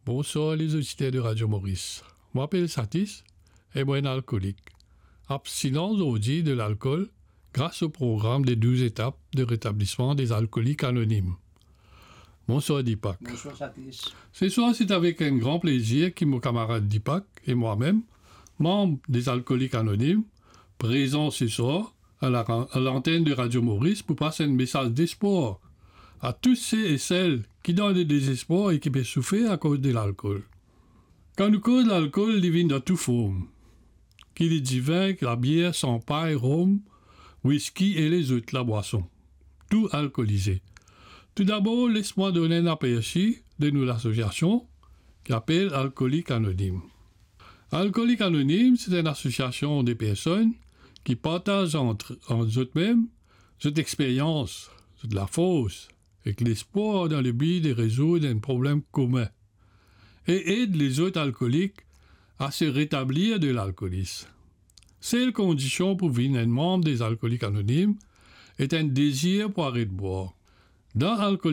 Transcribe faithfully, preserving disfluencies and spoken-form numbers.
Bonswar lezoditer de Radio Maurice. Mo apel Satis e mo enn alkolik. Abstinan zordi de lalkol gras o program de douz etap de retablisman de Alkolik Anonim. Bonswar Deepak. Bonswar Satis. Seswar, se avek enn gran plezir ki mo kamarad Deepak e mwa mem, manb de Alkolik Anonim, prezan seswar a la, a lantenn de Radio Maurice pou pas enn mesaz despwar a tou se e sel ki dan ledezespwar e ki pe soufer akoz de lalkol. Kan nou koz lalkol, li vinn dan tou form, ki li divin, ki labier, sanpay, rom, wiski e lezot labwason, tou alkolize. Toudabor, les mwa donn enn apersi de nou lasosiasion ki apel Alkolik Anonim. Alkolik Anonim, se enn asosiasion de personn ki partaz ant, ant zot mem zot experyans, zot lafors ek lespwar dan lebi de rezoud enn problem komin e ed lezot alkolik a se retablir de lalkolis. Sel kondision pou vinn enn manb de Alkolik Anonim et enn dezir pou aret bwar. Dan Alkolik